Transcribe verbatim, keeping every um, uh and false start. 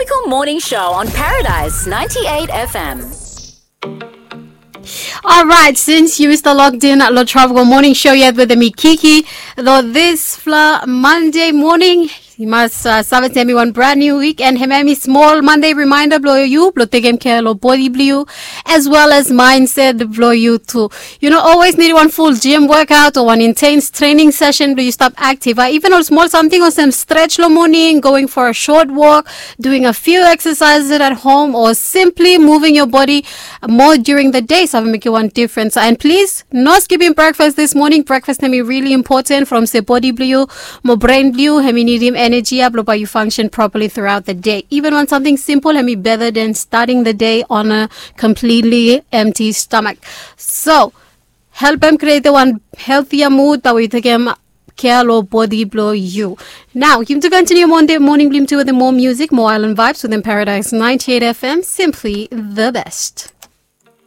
Tropical Morning Show on Paradise ninety-eight F M. Alright, since yu stap locked in lo Tropical Morning Show yet wetem mi Kiki, lo disfala Monday moning, yu mas uh, save se hemi wan brand new week, and hemi hemi smol Monday reminder blo yu blo tekem kea lo bodi blo yu, as well as mindset blo yu tu. Yu no always nid wan full gym workout o wan intense training session blo yu stap active. Even ol smol samting olsem stretch lo moning, going for a short walk, doing a few exercises at home, or simply moving your body more during the day save mekem wan difference. And please, no skipping breakfast this morning. Breakfast hemi really important from se bodi blo yu mo brain blo yu hemi nidim energy ya blo bae yu function properly throughout the day. Even wan samting simple hemi better than starting the day on a completely empty stomach. So, helpem create wan healthier mood bae yu tekem kea lo bodi blo yu. Nao yumi tu continue Monday moning blo yumi tu wetem moa music, moa island vibes wetem Paradise ninety-eight F M, simply the best.